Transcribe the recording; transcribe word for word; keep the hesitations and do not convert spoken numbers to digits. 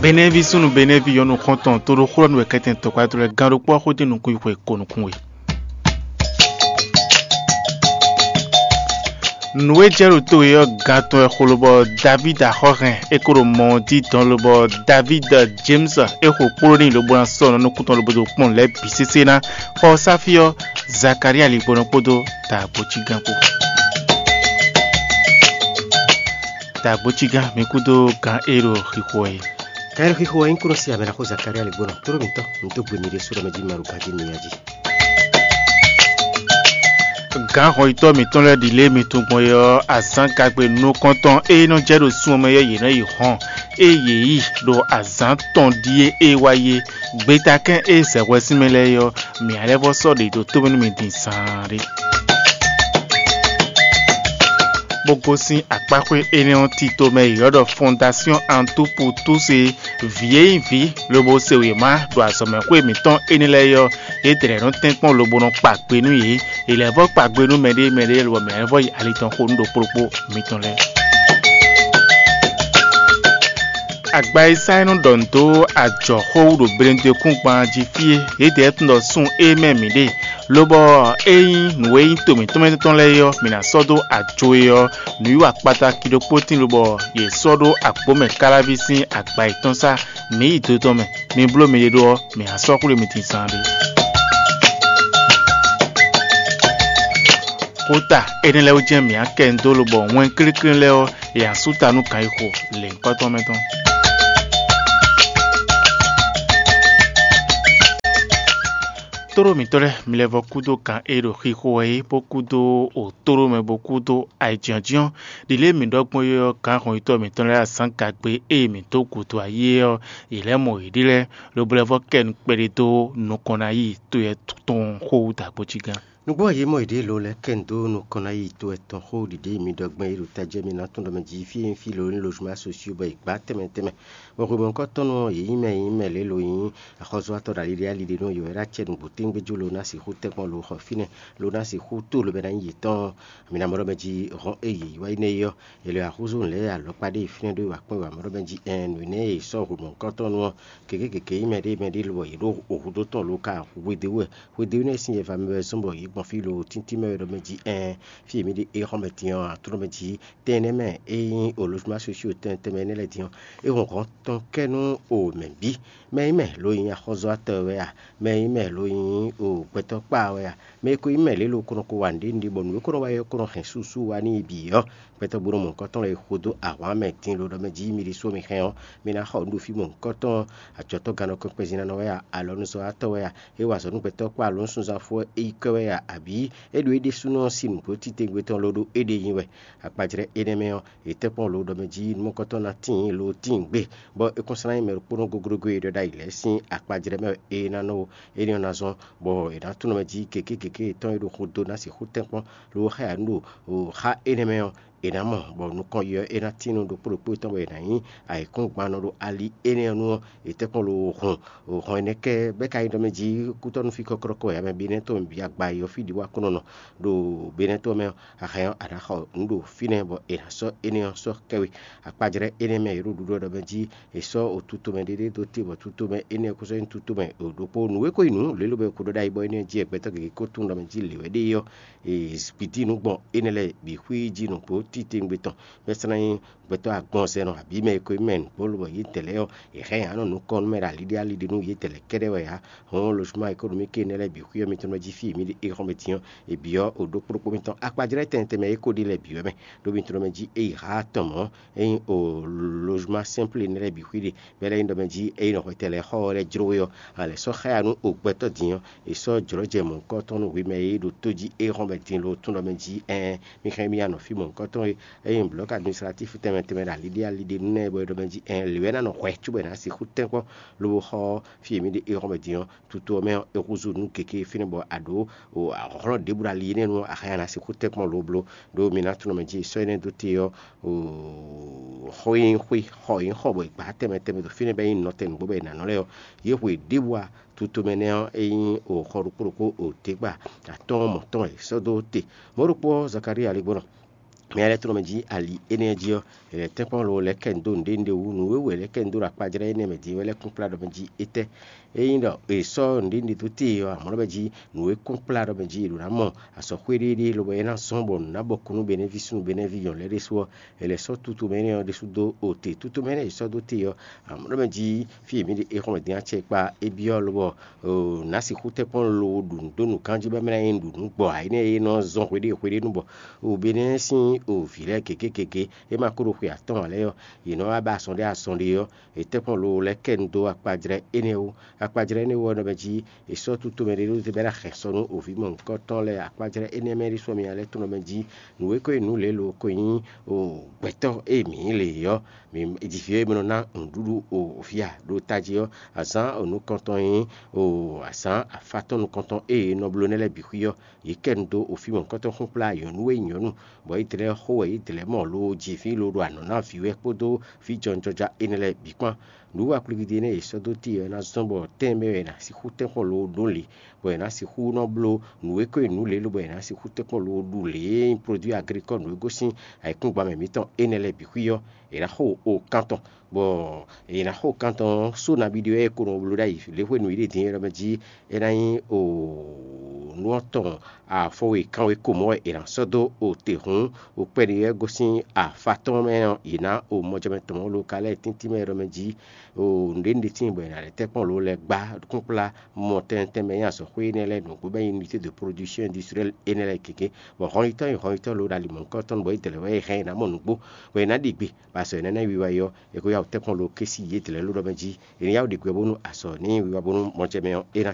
Benɛ́ví súnnu Benɛ́ví yɔ́nu xɔ́ntɔn toɖoxó ɔ́ nú wɛ kɛntɛn tɔkpá towe lɛ́ɛ gán ɖokpó ɔ́ xó ɖi nukún yi xwe ko nukún we. Nǔ e jɛ ɖo to e ɔ́, gan tɔn wɛ xo lobɔ Davídi axɔ́ hɛn é ko ɖo mɔ ɔ́ jí dɔn lobɔ Davídi James é xo kpló n'i lobo ná sɔ́ nɔ nukún tɔn lobo dó kpɔ́n lɛ̌ bǐ sésé ná. Xɔ ɔ́ sá fí ɔ́, Zakalía ligbɔnɔ kpódó dǎgbócígán kpó. Dǎgbócígán mi kúdó gǎn e ɖo xixo wɛ é. Gǎn e ɖo xixo wɛ é nyí kúnɔ sí abɛ̌naxó Zakalía ligbɔnɔ tló mǐtɔn, mi dó gbe mi ɖésú ɖɔ mɛ jí mi ma ɖo ganjí mi nya jí. Gǎn hɔnyitɔ́ mǐtɔn lɛ́ɛ ɖi lě e mi tunwun gbɔn é ɔ́, azǎngagbe nukɔntɔn e nɔ jɛ ɖo sun ɔ́ mɛ ɔ́, yě nɔ yi hɔn, ée yě yi ɖo azǎn tɔn ɖíe e wá yi é. Gbetakɛ́n e zɛ hwɛ sín mɛ lɛ́ɛ é ɔ́, mǐ ná lɛ́ vɔ́ sɔ́ ɖě ɖo tó mɛ nú mi din zaanɖé. Bó gosín akpáxwé énɛ́ ɔ́ tito mɛ e yě ylɔ́ ɖɔ Fɔndasyɔ́n Antupu Túse, vǐ e nyí vǐ lobo se wěma ɖo azɔ̌mɛxwé mǐtɔn énɛ́ lɛ́ɛ é ɔ́, yědɛɛ nɔ tɛ́nkpɔ́n lobo nɔ kpa gbe nú yě. È lɛ̌ vɔ́ kpa gbe nú mɛɖé mɛɖé lobɔ mɛ lɛ́ vɔ́ yi ali tɔn xo nú ɖokpó ɖokpó mitɔn lɛ́ɛ. Agba e sá é nɔ ɖɔ nǔ dó ajɔ̌xó wú ɖo Benedekúngban jí fí é, yědɛɛ tunwun ɖɔ sun e mɛ mǐ ɖe, lobɔ é nyí nǔ e nyí to mǐtɔn mɛ tɔn lɛ́ɛ é ɔ́, mǐ ná sɔ́ dó ajo é ɔ́, nǔwiwa kpataki ɖokpó tíin lobɔ yě sɔ́ ɖó agbǒmɛ káláví sín agba yětɔn sá. Mǐ yi do tɔn mɛ, mi bló miɖée ɖó ɔ́, mǐ ná sɔ́ xwlé mi din zaanɖé. Xota énɛ́ lɛ́ɛ wú jɛ́n mǐ á kɛ nǔ dó lobɔ wɛn kléklé lɛ́ɛ ɔ́, è nǎ sú ta nú gǎnyixo lěhunkɔtɔn mɛ tɔn. Tóɖó mǐtɔn lɛ́ɛ, mi lɛ́ vɔ́ kúdó gǎn e ɖo xixo wɛ é, bó kúdó òtóɖó mɛ, bó kúdó ayǐjínjɔ́n. Ɖi lě e mǐ ɖɔ gbɔn é ɔ́, gǎn hɔnyitɔ́ mǐtɔn lɛ́ɛ azǎn gagbe e mǐ dó gǔdo ayé ɔ́, yě lɛ́ mɔ yěɖée lɛ́ɛ, lobo lɛ́ vɔ́ kɛ nukpɛɖé dó nukɔn ná yi to yɛ tɔn xó wú dǎgbócígán. Nǔgbó ɔ́, yě mɔ yěɖée lo lɛ́ɛ kɛ nǔ dó nukɔn ná yi to yɛtɔn xó ɖiɖe mi ɖɔ gbɛn e ɖo tají ɔ́, mi ná tunwun ɖɔ mɛ jí fí e nyí fí lo ní lozuma sosio bɔ è gbǎ tɛnmɛ tɛnmɛ. Bɔ hwemɔ̌kɔ́tɔ́nú ɔ́, yě nyí mɛ e nyí mɛ lě lo nyí axɔ́zɔ́watɔ́ ɖo ali ɖé ali ɖé nú yě wɛ ɖó acɛ nǔgbó téŋgbéjú lo ná sixú tɛ́nkpɔ́n lo xɔ fínɛ́, lo ná sixú tó lo bɛ ná nyí yětɔn. Mi ná mɔ ɖɔ mɛ jí hɔn e yě yi wá yi nɛ́ é ɔ́, è lɛ wá húzú nǔ lɛ́ɛ alɔkpa ɖé fínɛ́ ɖó wǎ kpɔ́n wǎ mɔ ɖɔ mɛ jí ɛn nǔ énɛ́ e è sɔ́ hwemɔ̌kɔ́tɔ́nú ɔ́, kěkěkěké nyí mɛ ɖé mɛ ɖé lobɔ yě ɖo hǔdó tɔn lo ka hwedó wɛ. Hwedó énɛ́ sín yɛva mɛ wɛ zɔ́n bɔ yě gbɔn fí lo tíntín mɛ wɛ ɖɔ mɛ jí ɛn fí e mǐ ɖe é xɔ́n mɛ din ɔ́, atlɔ́ mɛ jí tɛn énɛ́ mɛ e nyí olozuma sosio tɛn tɛnmɛ énɛ́ lɛ́ɛ din ɔ́, é hɔn hɔn tɔn kɛ nú o mɛ bǐ. Mɛ nyí mɛ lo nyí axɔ́zɔ́watɔ́ wɛ a? Mɛ nyí mɛ lo nyí o gbɛtɔ́ kpa wɛ a? Mɛ e ko nyí mɛ lě lo ko nɔ ko wa nǔɖé nǔɖé bɔ nǔ e ko nɔ wa é ko nɔ hɛn susu wá n'i bǐ ɔ́, gbɛtɔ́ gbo nɔ mɔ̌hunkɔtɔn lɛ́ɛ xo dó ahwan mɛ din lo ɖɔ mɛ jí mi ɖésú mi hɛn ɔ́, mi ná xɔ nǔ ɖo fí mɔ̌hunkɔtɔn. Ajɔ̌tɔ́ gannɔkɔn kpɛzínánɔ wɛ a? Alɔnuzɔ́watɔ́ wɛ a? É wa azɔ̌ nú gbɛtɔ́ kpó alɔnúsunzánfɔ é yi kɛ wɛ a? Abǐ é ɖo éɖésúnɔ sín nǔgbó titewungbe tɔn ló ɖó éɖée nyi wɛ? Akpajlɛ́ énɛ́ mɛ ɔ́, è tɛ́ kpɔ́n lo ɖɔ mɛ jí nǔmɔkɔ́tɔn ná tíin lo tíin gbé, bɔ é kún sɔ́ ná nyí mɛ ɖokpónɔ goglogo e ɖɔ ɖ'ayǐ lɛ́ɛ sín akpajlɛ́ mɛ é ná nɔ é ní ɔ́ ná zɔ́n, bɔ è nǎ tunwun mɛ jí gěgé gěgé yětɔn e ɖo xo dó ná sixú tɛ́nkpɔ́n lo xá ya nú ɖo xá énɛ́ mɛ ɔ́, è nǎ mɔ, bɔ nukɔn yi ɔ́, é ná tín nú ɖokpó ɖokpó tɔn bɔ è nǎ nyí ayǐkúngban nɔ ɖo ali énɛ́ ɔ́ nu ɔ́, è tɛ́ kpɔ́n lo hɔn hɔn énɛ́ kɛ bɛ́ ka nyí ɖɔ mɛ jí kútɔ́ nú fí kɔ́klɔ́kɔ wɛ, mɛ Benɛ́ tɔn bǐ agba e ɔ́ fí ɖi wá kɔn nɔ ɖo Benɛ́ tɔn mɛ ɔ́, a hɛn ɔ́, a nǎ xɔ nǔ ɖo fínɛ́ bɔ è nǎ sɔ́ énɛ́ ɔ́ sɔ́ kɛ we. Akpajlɛ́ énɛ́ mɛ e ɖo ɖuɖɔ ɖɔ mɛ jí è sɔ́ otutomɛ ɖéɖé dó te bɔ tutomɛ énɛ́ ɔ́ kó sɔ́ nyí tutomɛ ɖokpó. Nǔ e ko nyí nǔ lě lobo è ko ɖɔ ɖ'ayǐ bɔ énɛ́ jí wɛ gbɛtɔ́ gěgé ko tunwun ɖɔ mɛ jí lě wɛ ɖe é ɔ́, è gbǐdí nǔ gbɔn énɛ́ lɛ́ɛ bǐ xwíí jí nǔgbó titewungbe tɔn, bɔ é sɔ́ ná nyí gbɛtɔ́ agbɔnzɛnɔ abǐ mɛ e ko nyí mɛ nǔgbó lobɔ yě dɛ̌ lɛ́ɛ ɔ́, è hɛn yě ná nɔ nukɔn nú mɛ ɖo ali ɖé ali ɖé nú yě dɛ̌ lɛ́ɛ kɛ́ɖɛ́ wɛ ǎ. Hɔn lozuma e ko ɖo mì ke énɛ́ lɛ́ɛ bǐ xwí ɔ́, mi tɔn mɛ jí fí e mǐ ɖe é xɔ́n mɛ din ɔ́, è byɔ́ o ɖokpó ɖokpó mitɔn. Akpajlɛ́ tɛnmɛ tɛnmɛ e ko ɖe lɛ́ɛ bǐ wɛ mɛ, ɖó mi tɔn mɛ jí é yi há tɔn mɔ̌. Ényí o lozuma sɛ́nplé énɛ́ lɛ́ɛ bǐ xwí ɖe, bɔ é lɛ́ nyí ɖɔ mɛ jí ényí nɔ hwɛtɛn lɛ́ɛ xɔ ɔ́ lɛ́ jló we ɔ́, a lɛ̌ sɔ́ xá ya nú o gbɛtɔ́ din ɔ́, è sɔ́ jlɔ̌jɛ mɔ̌hunkɔtɔn nú hwemɛ e ɖo tó jí é xɔ́n mɛ din lo tún ɖɔ mɛ jí ɛɛn, mi xɛn mì ya nɔ fí mɔ̌hunkɔtɔn e ényí blɔ̌k administratif tɛnmɛ tɛnmɛ ɖo ali ɖé ali ɖé nú nɛ́ bɔ é ɖɔ mɛ jí ɛɛn lě wɛ ná nɔ hwɛ cóbɔ è nǎ sixú tɛ́nkpɔ́n lobo xɔ ɔ́, fí e mǐ ɖe é xɔ́n mɛ din ɔ́, tutu ɔ́ mɛ ɔ́, è húzú nǔ gěgé fínɛ́ bɔ a ɖǒ hlɔ̌n ɖěbǔ ɖo ali énɛ́ nu ɔ́, a hɛn a nǎ sixú tɛ́nkpɔ́n lo bló, ɖó mi ná tunwun mɛ jí sɔ́ énɛ́ dó te ɔ́, xɔ e nyí xwé, xɔ e nyí xɔ bɔ è gbǎ tɛnmɛ tɛnmɛ ɖo fínɛ́ bɔ é nyí nɔtɛn nǔgbó bɔ è nǎ nɔ lɛ́ɛ ɔ́, yě hu è ɖěbǔ a tutomɛ nɛ́ ɔ́, é nyí xɔ ɖokpó ɖokpó ɖěgbá atɔ́ɔ́n mɔ̌tɔn e sɔ́ dó te. Mɔ̌ ɖokpó ɔ́, Zakalía lɛ́ gbɔn mɛ lɛ́ɛ tlɔ́ mɛ jí ali énɛ́ jí ɔ́, è lɛ̌ tɛ́nkpɔ́n lo lɛ́ kɛ nǔ dó nǔɖé nǔɖé wú. Nǔ e wɛ lɛ́ kɛ nǔ dó ɖo akpajlɛ́ énɛ́ mɛ din é wɛ lɛ́ kún kplá ɖɔ mɛ jí étɛ́? Ényí ɖɔ è sɔ́ nǔɖé nǔɖé dó te ɔ́, amɔ̌ ɖɔ mɛ jí nǔ e kún kplá ɖɔ mɛ jí è ɖǒ ná mɔ azɔ̌ xwéɖéɖé lobɔ é ná zɔ́n bɔ nǔ ná bɔ kú nú benɛ́ví súnnu benɛ́ví nyɔ̌nu lɛ́ɛ ɖésú ɔ́, è lɛ̌ sɔ́ tutu mɛ énɛ́ ɔ́ ɖésú dó o te. Tutu mɛ énɛ́ è sɔ́ dó te ɔ́, amɔ̌ ɖɔ mɛ jí fí e mǐ ɖe é xɔ́n mɛ din acɛ kpa é byɔ́ lobɔ nǎ sixú tɛ́nkpɔ́n lo ɖu nǔ dó nǔkanjí bɔ é mɛ ná nyí nǔɖuɖu gbɔ ǎ énɛ́ e nɔ zɔn hweɖée hweɖénu bɔ o Benɛ́ sín o vǐ lɛ́ɛ gěgé gěgé e ma ko ɖo xwe atɔ́ɔ́n ǎ lɛ́ɛ ɔ́, yě nɔ wá ba azɔn ɖé azɔn ɖé ɔ́, è tɛ́nkpɔ́n lo lɛ́ kɛ nu dó akpajlɛ́ énɛ́ wú. Akpajlɛ́ énɛ́ wú ɔ́ nɔ mɛ jí è sɔ́ tutomɛ ɖé ɖó te bɔ é ná hɛn sɔ nú o vǐ mɔ̌hunkɔtɔn lɛ́ɛ. Akpajlɛ́ énɛ́ mɛ ɖésú ɔ́, mi ná lɛ́ tunwun mɛ jí nǔ e ko nyí nǔ lě lo ko nyí o gbɛtɔ́ e mǐ nyí lě ɔ́, mǐ jí vǐ e mɛ nɔ ná nǔɖuɖu o vǐ a ɖo tají ɔ́, azǎn o nukɔntɔn nyí o azǎn afátɔ́n nukɔntɔn e è nɔ bló nɛ́ lɛ́ɛ bǐ xwí ɔ́, yě kɛ nu dó o fí mɔ̌hunkɔtɔn xúnkplá nyɔ̌nu e nyí nyɔ̌nu, bɔ é dlɛ́ xó wɛ é dlɛ́ mɔ lo ji vǐ lo ɖo anɔ̌ ná vǐ wɛ kpódó vǐ jɔnjɔja énɛ́ lɛ́ɛ bǐ kpán. Nǔwiwa kplividi énɛ́ e è sɔ́ dó t'i ɔ́ ná zɔ́n bɔ tɛ́nmɛ wɛ è nǎ sixú tɛ́nkpɔ́n lo ɖó lě, bɔ è nǎ sixú nɔ bló nǔ e ko nyí nǔ lě lobo è nǎ sixú tɛ́nkpɔ́n lo ɖu lě e nyí produit agricole nǔ e gosín ayǐkúngban mɛ mǐtɔn énɛ́ lɛ́ɛ bǐ xwí ɔ́, è nǎ xo o kan tɔn, bɔ è nǎ xo o kan tɔn ɔ́ só nabí ɖé wɛ é ko nɔ bló ɖ'ayǐ lě hwenu e é ɖe din é ɖɔ mɛ jí é ná nyí o nú ɔ́ tɔn afɔ e kanwe ko mɔ̌ wɛ è nǎ sɔ́ dó o te hǔn o kpɛɖi wɛ gosín afa tɔn mɛ ɔ́, yě ná o mɔjɛmɛ tɔn mɔ̌ lo ka lɛ́ɛ tíntín mɛ ɖɔ mɛ jí o nǔɖé nǔɖé tíin bɔ è nǎ lɛ́ tɛ́ kpɔ́n lo lɛ́ gbá kúnkplá mɔ tɛntɛn mɛ nyí azɔ̌xwé énɛ́ lɛ́ɛ nǔgbó bɔ é nyí unité de production industrielle énɛ́ lɛ́ɛ gěgé, bɔ hɔnnyitɔ́ nyi hɔnnyitɔ́ lo ɖo ali mɔ̌hunkɔtɔn bɔ é dlɛ̌ wɛ é hɛn è nǎ mɔ nǔgbó, bɔ è nǎ ɖi gbe, bɔ azɔ̌ énɛ́ ná wiwa é ɔ́, è ko yá wǔ tɛ́ kpɔ́n lo ké sí yě dlɛ̌ lo ɖɔ mɛ jí è nǐ yá wǔ ɖi gbɛ bónú azɔ̌ ní wiwa bónú mɔjɛmɛ ɔ́ é ná